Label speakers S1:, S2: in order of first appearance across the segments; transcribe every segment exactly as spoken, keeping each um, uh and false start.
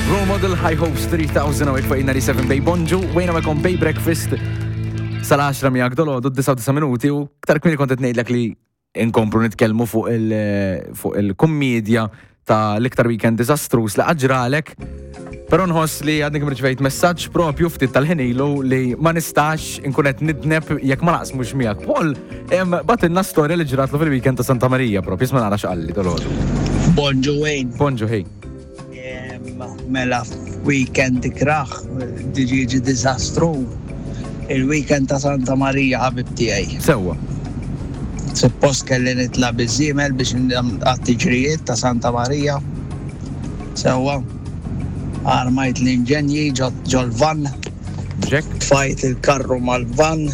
S1: Role Model High Hopes tliet elef u fuq disgħa u tmenin Bay. Bonġu, wejna magħkom Bay Breakfast sal-għaxra miegħek dalgħodu, disgħa minuti, u aktar kmieni kont qed ngħidlek li inkomplu nitkellmu fuq il- fuq il-kummedja ta' l-iktar weekend disastrous li ġralek. Però nħoss li għadni kemm rċevejt messaġġ propju ftit tal-ħin ilu li ma nistax inkun qed nidneb jekk ma naqsmux miegħek. Paul, em, bagħtilna storja li ġratlu fil-weekend ta' Santa Maria propju, isma' nara x'qalli dalgħodu.
S2: Bonġu, Wayne.
S1: Bonġu, hey.
S2: Em, Mela, weekend ikrah, diġiġi diżastru. Il-weekend ta' Santa Maria, ħabib tiegħi.
S1: Sewwa.
S2: Suppost kelli nitla' biż-żiemel biex għat-tiġrijiet ta' Santa Maria. Sewwa. Armajt l-inġenji ġol-van,
S1: Jack?
S2: Tfajt il-karru mal-van,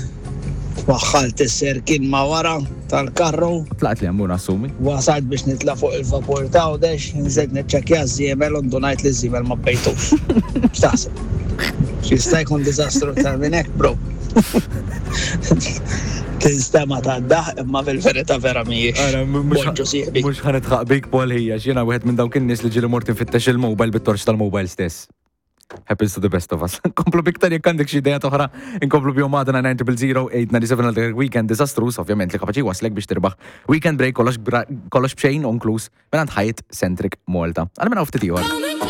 S2: waħħalt is-serkin ma' wara tal-karru.
S1: Tlaqt li għambuna assumi.
S2: Wasalt biex nitla' fuq il-vapur ta' Għawdex, nżilt niċċekkja ż-żiemel u ndunajt li ż-żiemel ma bejtux. X'taħseb? X'jista' jkun diżastru aktar minn hekk, bro? Tinstema' ta' daħk, imma fil-verità vera mhijiex. Bonġu, sieħbi.
S1: Mhux ħa nidħaq bik, Paul ħija, jiena wieħed minn dawk in-nies li ġieli mort infittex il-mobile bit-torċ tal-mobile stess. Happens to the best of us. Nkomplu b'iktar jekk għandek xi idea oħra, inkomplu bihom għadna nine zero zero eight nine seven għal weekend disastrous, ovvjament li kapaċi waslek biex tirbaħ weekend break kollox bra- kollox b'xejn inkluż minn Hyatt Centric Malta. Għal minn ftit ieħor.